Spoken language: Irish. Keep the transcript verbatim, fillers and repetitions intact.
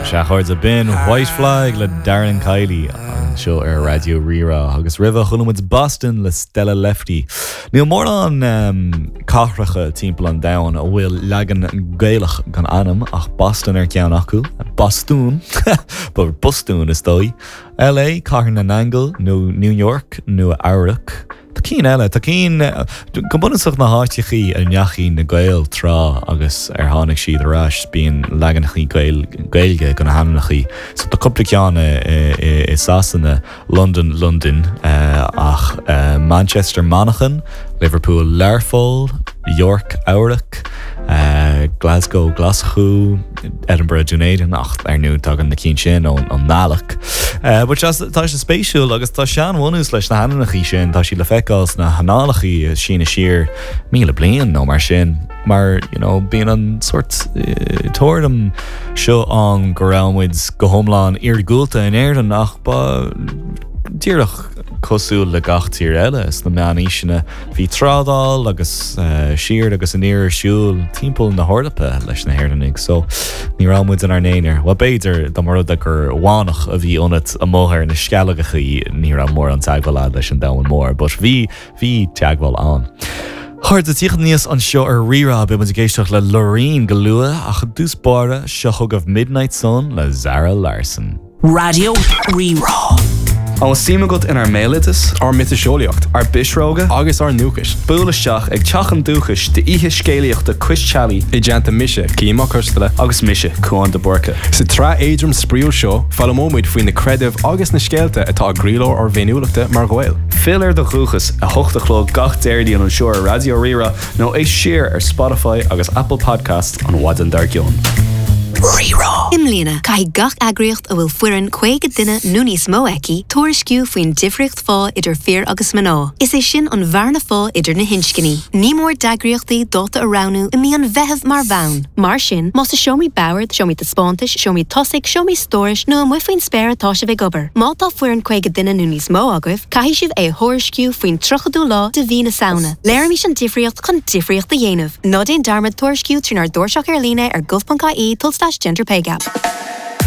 Sea, a chairde, b'in White Flag le Darren Kiely anseo ar Raidió Rí-Rá agus roimhe chuala muid Boston le Stella Lefty. Níl mórán um, cathracha timpeall an domhain a bhfuil leagan Gaelach den ainm ach Boston ar ceann acu, Bostún Bostún is dóigh. LA Cathair na nAingeal nó New York Nua Eabhrac. Tá cinn eile tá cinn go bunúsach na háiteachaí a ndeachaigh na Gaeil tráth agus ar tháinig siad ar ais bíonn leaganachaí Gaeilge de na hainmneachaí. So tá cúpla ceann i Sasana, London, London ach Manchester Manchain, Liverpool Learpholl, York Eabhrac, Glasgow Glaschú, Edinburgh Dunedin ach ar ndóigh tagann na cinn sin ón nGàidhlig. But tá sé spéisiúil agus tá seanbhunús leis na hainmneachaí sin tá siad le feiceáil sna hannálachaí sína siar míle bliain nó mar sin. Mar you know, bíonn an sort uh, tuairim seo an go raibh muid go hiomlán iargúlta in Éirinn ach ba díreach cosúil le gach tír eile sna meánaoiseanna bhí trádáil agus uh, siar agus aniar ar siúl timpeall na hEorpa leis na hÉireannaigh, so ní raibh muid inár n-aonar. Well b'fhéidir dá mba rud é gur mhanach a bhí ionat amuigh ar na Sceilgeachaí ní raibh mórán teagmháil leis an domhan mór, but bhí bhí teagmháil ann. Chairde tíocht níos anseo ar Rí-Rá beidh muid ag éisteacht le Loreen go luath ach i dtús báire seo chugaibh Midnight Sun le Zara Larsson. Raidió Rí-Rá. An suim agat inár mbéaloideas, ár miotaseolaíocht ár bpisreoga, agus ár ndúchas. Buail isteach ag Teach an Dúchais d'oíche scéalaíochta Cois Teallaigh I dteannta mise Cian Mac Coisteala agus mise Cuán de Búrca. Sa tsraith éadrom spraíúil seo foghlaimeoimid faoi na creidimh agus na scéalta atá i gcroílár ár bhféiniúlachta mar Ghaeil. Fill ar do dhúchas a hocht a chlog gach Déardaoin anseo ar Raidió Rí-Rá nó éist siar ar Spotify agus Apple Podcast an mhaidin dár gcionn. Rí-Rá. I mbliana caithfidh gach eagraíocht a bhfuil foireann caoga duine nó níos mó aici tuairisciú faoin difríocht phá idir fir agus mná. Is é sin an bhearna phá idir na hinscní. Ní mór d'eagraíochtaí dáta a roghnú i mí an Mheithimh mar bhonn. Mar sin, más i seomraí boird, seomraí taispeántais, seomraí tosaigh, seomraí stórais nó amuigh faoin spéir atá sibh ag obair. Má tá foireann caoga duine nó níos mó agaibh, caithfidh sibh é a thuairisciú faoin tríochadú lá de mhí na Samhna. Léirímis an difríocht chun difríocht a dhéanamh. Ná déan dearmad tuairisciú trínár dtairseach ar líne ar gov.ie tulslais gender pay gap.